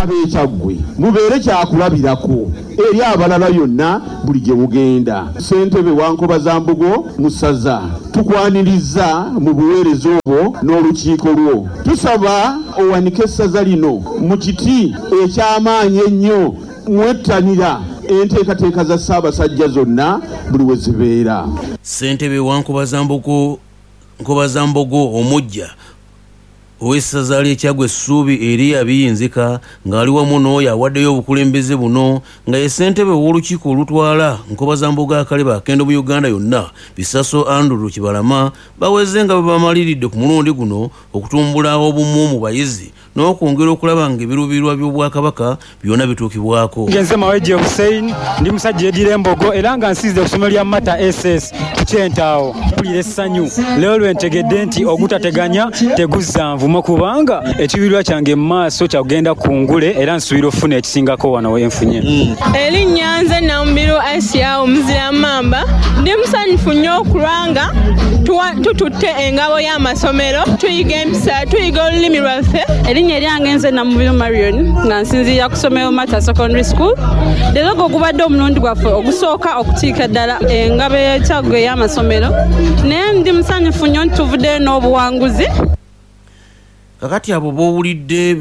Ab'e Kyaggwe mubeere kyakulabirako eri abalala yonna buli gye mugenda. Ssentebe wa Nkobazambogo mu ssaza tukwanirizza mu buweereza obwo n'olukiiko lwo. Tusaba owanike essaza lino mu kiti eky'amaanyi ennyo mwettanira enteekateeka za Ssaabasajja zonna buli we zibeera. Ssentebe wa Nkobazambogo omuggya ow'essaza ly'e Kyaggwe Ssuubi Eria Biyinzika ng'ali wamu n'oyo awaddeyo obukulembeze buno nga ye ssentebe w'olukiiko olutwala Nkobazambogo Akaleba Akendo mu Uganda yonna Bisaso Andrew Kibalama baweze nga bwe bamaliridde ku mulundi guno okutumbula obumu mu bayizi n'okwongera okulaba ng'ebiruubirirwa by'Obwakabaka byona bituukibwako. Nze Mawejje Hussein, ndi musajja edira Embogo era nga nsinzidde ku isomero lya Mata SS ku Kyentaawo. Mpulira essanyu leero lwe ntegedde nti ogutateganya teguzza nvumo kubanga ekiruubirirwa kyange mu maaso kya kugenda ku ngule era nsuubira okufuna ekisingako wano we nfunye. Erinnya nze Namubiru Asia omuzira Mmamba. Ndi musanyufu nnyo kulwanga tututte engabo y'amasomero, tuyiga empisa, tuyiga olulimi lwaffe. Erinnya eryange nze Namubiru Marion nga nsinziira ku ssomero Mata Secondary School. Leero gwe gubadde omulundi gwaffe ogusooka okutiika ddala engabo y'e Kyaggwe ey'amasomero, naye ndi musanyufu nnyo nti tuvuddeyo n'obuwanguzi. Kakati abo b'owulidde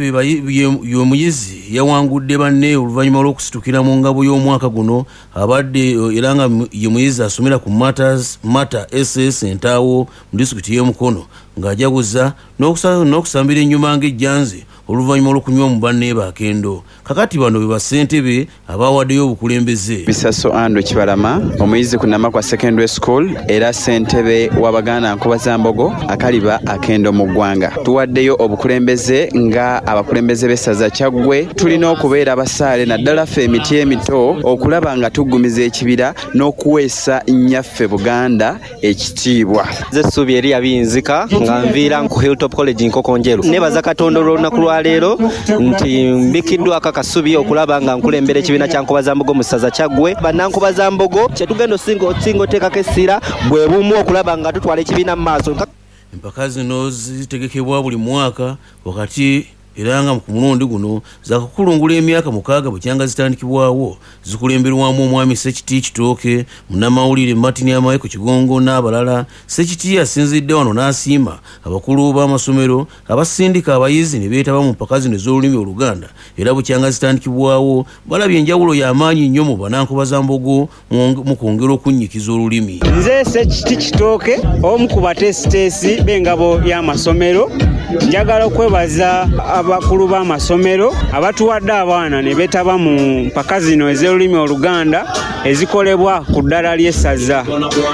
y'omuyizi yawangudde banne oluvannyuma lw'okusitukira mu ngabo y'omwaka guno abadde era nga ye muyizi asomera ku Mata SS Entaawo mu disitulikiti y'e Mukono ng'ajaguza n'okusambira ennyuma ng'ejjanzi oluvannyuma lw'okunywa mu banne bakendo. Kakati bano be bassentebe abawaddeyo obukulembeze. Bisaso Andrew Kibalama, omuyizi ku Namakwa Secondary School era ssentebe w'Abaganda Nkobazambogo Akaliba Akendo mu ggwanga. Tuwaddeyo obukulembeze nga abakulembeze b'essaza Kyaggwe. Tulina okubeera abasaale naddala ffe emiti emito okulaba nga tuggumiza ekibira n'okuweesa nnyaffe Buganda ekitiibwa. Nze Ssuubi Eria Biyinzika nga nviira ku Hilltop College Nkokonjeru. Neebaza Katonda olw'olunaku lwa leero nti mbikiddwako akasubi okulaba nga nkulembera ekibiina kya Nkobazambogo mu ssaza Kyaggwe. Bannankobazambogo kye tugenda osinga oteekako essira bwe bumu okulaba nga tutwala ekibiina mu maaso. Empaka zino zitegekebwa buli mwaka wakati era nga ku mulundi guno zakukulungula emyaka 6 bukyanga zitandikibwawo. Zikulemberwamu omwami Ssekiti Kitooke, munnamawulire Martin Amaiko Kigongo n'abalala. Ssekiti asinzidde wano n'asiima abakulu b'amasomero abasindika abayizi ne beetaba mu mpaka zino ez'olulimi Oluganda era bukyanga zitandikibwawo balabye enjawulo y'amaanyi nnyo mu Bannankobazambogo mu kwongera okunnyikiza olulimi. Nze Ssekiti Kitooke, omu ku bateesiteesi b'engabo y'amasomero, njagala okwebaza abakulu b'amasomero abatuwadde abaana ne beetaba mu mpaka zino ez'olulimi Oluganda ezikolebwa ku ddala ly'essaza.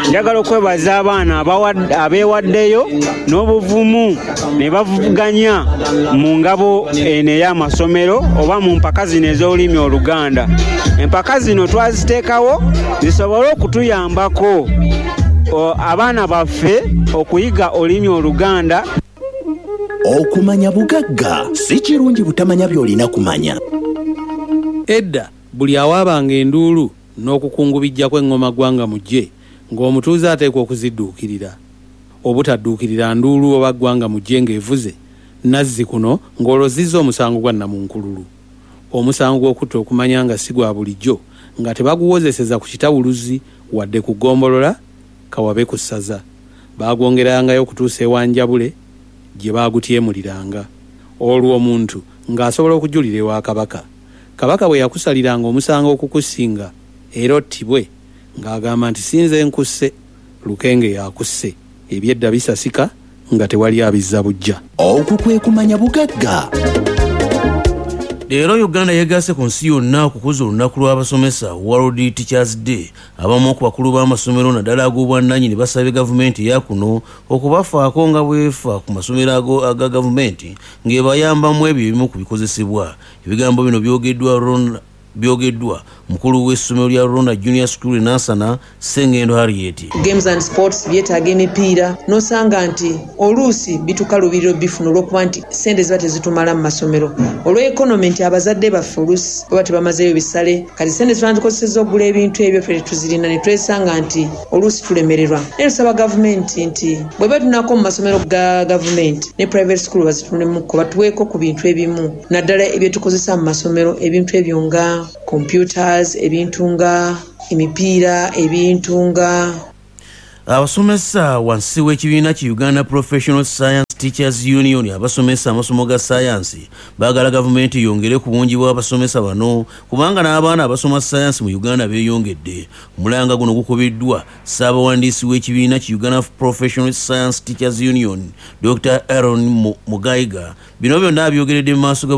Njagala okwebaza abaana abeewaddeyo n'obuvumu ne bavuganya mu ngabo eno ey'amasomero oba mu mpaka zino ez'olulimi Oluganda. Empaka zino twaziteekawo zisobole okutuyambako abaana baffe okuyiga olulimi Oluganda. Okumanya bugagga si kirungi butamanya by'olina kumanya. Edda buli awaabanga enduulu n'okukungubijja kw'eŋŋoma ggwanga mujje ng'omutuuze ateekwa okuzidduukirira. Obutadduukirira nduulu oba ggwanga mujje ng'evuze nazzi kuno ng'olwo zizza omusango gwa nnamunkululu. Omusango gw'okutta okumanya nga si gwa bulijjo nga tebaguwozeseza ku kitawuluzi wadde ku ggombolola kawabe ku ssaza. Baagwongerangayo okutuusa ewa Njabule gye baagutyemuliranga. Olwo omuntu ng'asobola okujulira ewa Kabaka. Kabaka bwe yakusaliranga omusango okukusinga era ottibwe ng'agamba nti sinze nkusse, Lukenge yakusse. Ebyedda bisasika nga tewali abizza buggya. Okwo kwe kumanya bugagga. Leero Uganda yeegasse ku nsi yonna okukuza olunaku lw'abasomesa World Teachers Day. Abamu ku bakulu b'amasomero naddala ag'obwannannyini basabye gavumenti eya kuno okubafaako nga bw'efa ku masomero aga gavumenti ng'ebayambamu ebyo ebimu ku bikozesebwa. Ebigambo bino byogeddwa Mukulu w'essomero lya Rona Junior School e Nansana, Ssengendo Harriet. Games and sports byetaaga emipiira, n'osanga nti oluusi bitukalubirira obifuna olw'okuba nti ssente ziba tezitumala mu masomero, olw'economy nti abazadde baffe oluusi baba tebamazeeyo bisale. Kati ssente zitwandikozesezza okugula ebintu ebyo ffe tetuzirina, ne twesanga nti oluusi tulemererwa. Naye tusaba gavumenti nti bweba tunako mu masomero ga gavumenti ne private school bazitunemuko, batuweeko ku bintu ebimu, naddala ebyetukozesa mu masomero, ebintu ebyo nga computers, ebintu nga emipiira, ebintu nga Abasomesa wansi w'ekibiina ki Uganda Professional Science Teachers Union abasomesa amasomo ga sayansi baagala gavumenti yongere ku bungi bw'abasomesa bano, kubanga n'abaana abasoma sayansi mu Uganda beeyongedde. Omulanga guno gukubiddwa ssaabawandiisi w'ekibiina ki Uganda Professional Science Teachers Union, Dr Aaron Mugaiga. Bino byonna abyogeredde mu maaso ga